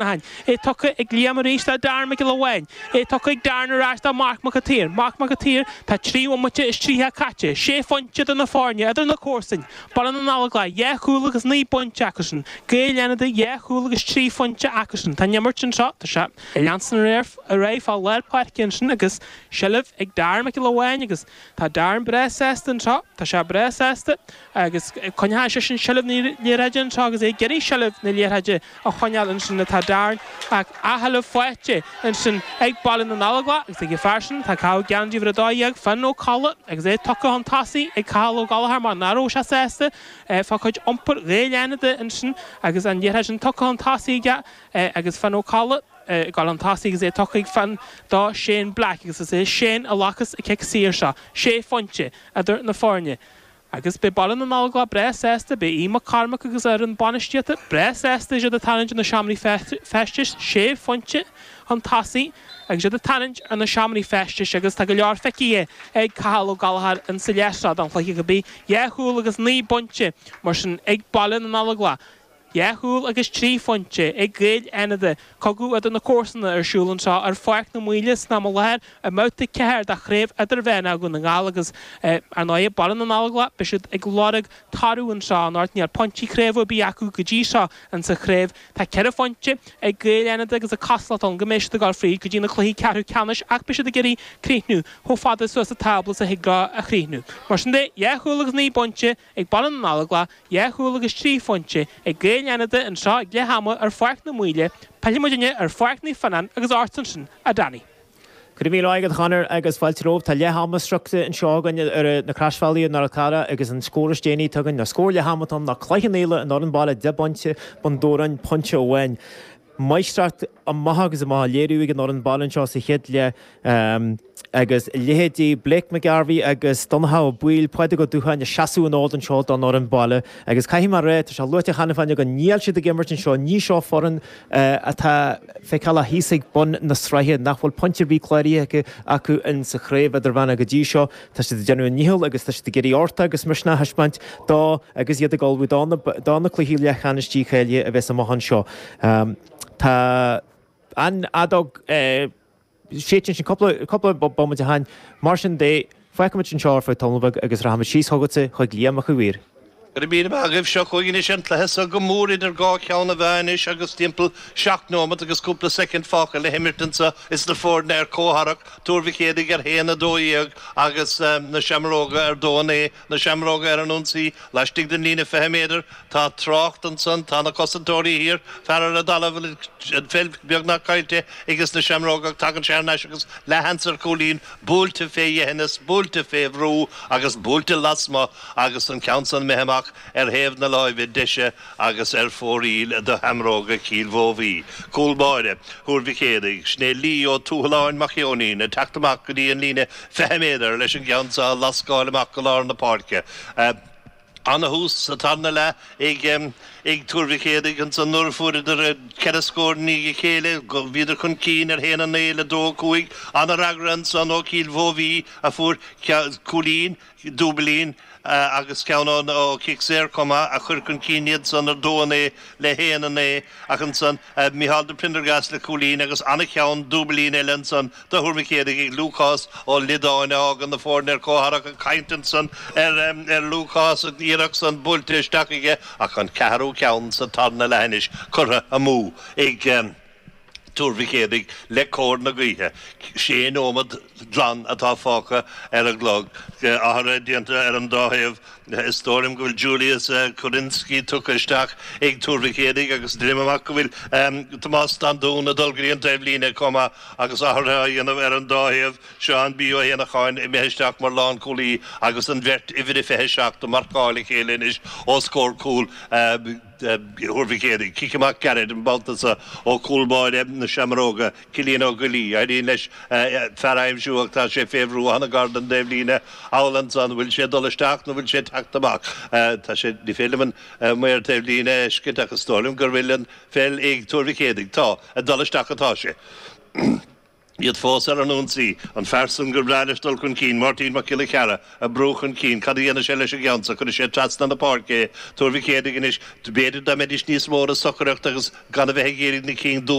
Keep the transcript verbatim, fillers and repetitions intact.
É tugtha ag Liam arís le Darren Mac Giolla Bháin. É tugtha ag Darren ar ais do Mark Mac an tSaoir. Mark Mac an tSaoir, Tá trí bhomaite is tríocha caite, sé phointe idir na foirne, idir na comharsain. Baile na nGallóglach, dhá chúl agus naoi bpointe acusan. Gaeil Fhánada, dhá chúl agus trí phointe acusan. Tá an imirt anseo, tá sé ag leanstan ar aghaidh fá lár páirce ansin agus seilbh ag Darren Mac Giolla Bháin agus tá Darren breá sásta anseo, tá sé breá sásta agus coinneoidh seisean seilbh na liathróide anseo agus é ag iarraidh seilbh na liathróide a choinneáil ansin atá Darren ach athsheilbh faighte ansin ag Baile na nGallóglach agus ag an fear sin tá ag caitheamh geansaí uimhir a dó dhéag, Finn Ó Colla agus é tugtha chun tosaigh ag Cathal Ó Gallchóir mar nach raibh sé sásta fá chuid iompair Ghaeil Fhánada ansin agus an liathróid sin tugtha chun tosaigh aige agus Finn Ó Colla ag dul chun tosaigh agus é tugtha ag Finn do Shane Black agus is é Shane a ghlacas an cic saor seo, sé phointe idir na foirne. Agus beidh Baile na nGallóglach breá sásta, beidh Aodh Mac Cormaic agus a fhoireann bainistíochta breá sásta is iad ag tarraingt ar na seomraí feistis, sé phointe chun tosaigh agus iad ag tarraingt ar na seomraí feistis agus tá go leor feicthe ag Cathal Ó Gallchóir insa leath seo den chluiche go bhí dhá chúl agus naoi bpointe mar sin ag Baile na nGallóglach. Dhá chúl agus trí phointe ag Gaeil Fhánada. Cogadh idir na comharsana ar siúl anseo ar Pháirc na Maoile san am i láthair i mbabhta ceathair de Chraobh Idirmheánach Dhún na nGall agus ar ndóigh Baile na nGallóglach beidh siad ag lorg toradh anseo anocht. Níl pointí craoibhe ar bith acu go dtí seo insa chraobh. Tá ceithre phointe ag Gaeil Fhánada agus an chosúlacht ann go mbeidh siad ag dul fríd go dtí na cluichí ceathrú ceannais ach beidh siad ag iarraidh críochnú chomh fada suas sa tábla is a thig leo a chríochnú. Mar sin de, dhá chúl agus naoi bpointe ag Baile na nGallóglach, dhá chúl agus trí phointe ag Gaeil Fhánada anseo ag leath ama ar Pháirc na Maoile, pillfidh muidinne ar Pháirc Naomh Fionnán agus ort ansin, a Danny. Go raibh míle maith agat, a Chonor, agus fáilte romhat. Tá leath ama sroichte anseo againn ar na Croisbhealaí i nDoire Carra agus an scór is déanaí atá againn, ná scór leath ama atá ann, ná Cloich Cheann Fhaola, an fhoireann baile deich bpointe, Bun Dobhráin pointe amháin. Máistreacht amach agus amach á léiriú ag an fhoireann baile anseo sa chéad leath agus leithéidí Blake McGarvey agus Donncha Ó Baoill, Pádraig Ó Dúcháin ag seasamh an fhóid anseo don fhoireann baile agus caithfidh mé a rá, tá sé luaite cheana féin againn, níl siad ag imirt anseo, ní seo foireann atá feiceálach thíos ag bun na sraithe, nach bhfuil pointe ar bith cláraithe acu in sa chraobh idirmheánach go dtí seo. Tá siad ag déanamh a ndícheall agus tá siad ag iarraidh uchtach agus misneach a thaispeáint dó agus iad ag ullmhú do na cluichí leathcheannais dícháilithe a bheas amach anseo. Tá an fheadóg séidte ansin cúpla cúpla bomaite ó shin. Mar sin de, fágfaimid anseo ar feadh tamall beag agus rachaimid síos chugatsa chuig Liam Mac Uidhir. Go raibh míle maith agaibh. Seo chugainn anois an cluiche so go mór idir dhá cheann na meá anois agus timpeall seacht nóimeat agus cúpla soicind fágtha le himirt anseo is na foirne ar comhtharrac, Tuar Mhic Éadaigh ar haon a dó dhéag agus na Seamróga ar dó a naoi. Na Seamróga ar an ionsaí laistigh den líne fiche méadar. Tá trácht ansan, tá na cosantóirí thiar, fear ar an dtalamh, an pheil beagnach caillte ages na Seamróga ach tagann sé thar n-ais agus leathsheans ar chúilín, buailte fé dheithneas, buailte fé bhrú agus buailte lasmuigh agus an ceann san imithe amach ar thaobh na láimhe deise agus ar fóraoil do Sheamróga Chill Mhóbhaí. Cúl báire Thuar Mhic Éadaigh, sin é Lee Ó Tuathaláin Mac Eoinín ag teacht amach go dtí an líne fiche méadar leis an gceann seo a lascáil amach go lár na páirce. Ana-thús sa tarna leath ag ag Tuar Mhic Éadaigh ansan nuair a fuaireadar ceithre scór i ndiaidh a chéile. Bhíodar chun cinn ar haon a naoi le dó a cúig. Ana-fhreagra ansan ó Chill Mhóbhaí a fuair cúilín, dúbailín agus ceann ó chic saor chomh maith a chuir chun cinn iad san ar dó a naoi le haon a naoi ach ansan Micheál de Prendergast le cúilín agus ana-cheann dúbailín eile ansan do Thuar Mhic Éadaigh ag Lúcás Ó Liodáin a fhágann na foirne ar comhtharrac ag caint ansan ar ar Lúcás an iarracht san buailte isteach aige ach an ceathrú ceann sa tarna leath anois curtha amú ag Tuar Mhic Éadaigh le cóir na gaoithe. Sé nóiméad glan atá fágtha ar an gclog. Athruithe déanta ar an dá thaobh. Is dóigh liom go bhfuil Julius Korinsky tugtha isteach ag Tuar Mhic Éadaigh agus deinim amach go bhfuil Tomás Standún ag dul go dtí an taobhlíne chomh maith agus athruithe á dhéanamh ar an dá thaobh. Seán B. Ó hÉanacháin imithe isteach mar lánchúlaí agus an bheirt uimhir a fiche seacht ag marcáil a chéile anois os comhair cúl Thuar Mhic Éadaigh. Cic amach gairid an babhta seo ó chúl báire na Seamróga, Cillian Ó Goillí. Éiríonn leis fear a aimsiú ach tá sé fé bhrú an-ghar don dtaobhlíne. Thall ansan, bhfuil sé ag dul isteach nó bhfuil sé ag teacht amach? Tá sé, ní féidir liom an maor taobhlíne a fheiscint ach is dóigh liom gur bhfuil an pheil ag Tuar Mhic Éadaigh. Tá, ag dul isteach atá sé. Iad fós ar an ionsaí an fear san gur breá leis dul chun cinn, Máirtín Mac Giolla Chearra ag brú chun cinn, cad a dhéanfaidh sé leis an gceann so, cuirfidh sé trasna na páirce é, Tuar Mhic Éadaigh anois, b'fhéidir dá mbeidís níos mó ar a socracht agus gan a bheith ag iarraidh na cinn